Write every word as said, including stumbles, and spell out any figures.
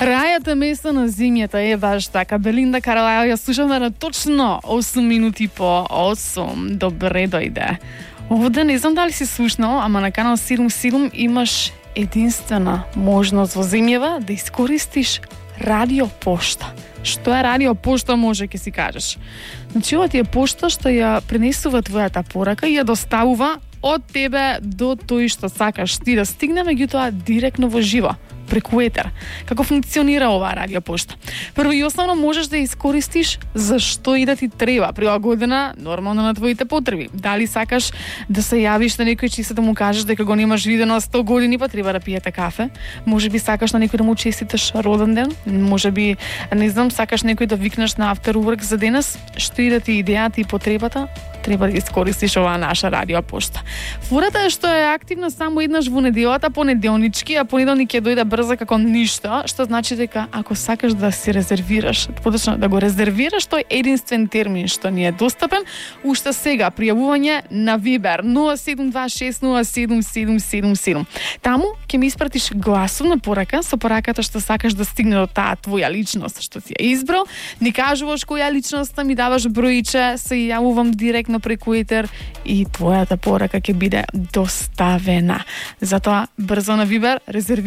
Рајата место на земјата е баш така. Белинда Каралајо ја слушаме на точно осум минути по осум. Добре дојде. Овде не знам дали си слушнал, ама на канал седум седум имаш единствена можност во земјава да искористиш радиопошта. Што е радиопошта, може ќе си кажеш. Значи, ова ти е пошта што ја пренесува твојата порака и ја доставува од тебе до тој што сакаш ти да стигне, меѓутоа директно во живо, преку етер. Како функционира оваа радиопошта? Прво и основно можеш да ја искористиш за што и да ти треба, прилагодена нормално на твоите потреби. Дали сакаш да се јавиш на некој чиста да му кажеш дека го немаш видено сто години, па треба да пиете кафе. Може би сакаш на некој да му честиташ роден ден. Може би, не знам, сакаш некој да викнеш на after work за денес. Што и да ти идејата и потребата, треба да искористиш оваа наша радиопошта. Фурата е што е активна само еднаш во неделата, понеделнички, а понеделник ќе дојде брзо како ништо, што значи дека ако сакаш да си резервираш, подочно да го резервираш тој единствен термин што ни е достапен, уште сега пријавување на Viber нула седум два шест нула седум седум седум седум. Таму ќе ми испратиш гласовна порака со пораката што сакаш да стигне до таа твоја личност што си ја избрал, ни кажуваш која личноста, ми даваш бројче, се јавувам директно преку етер и твојата порака ќе биде доставена. Затоа брзо на Viber резервираш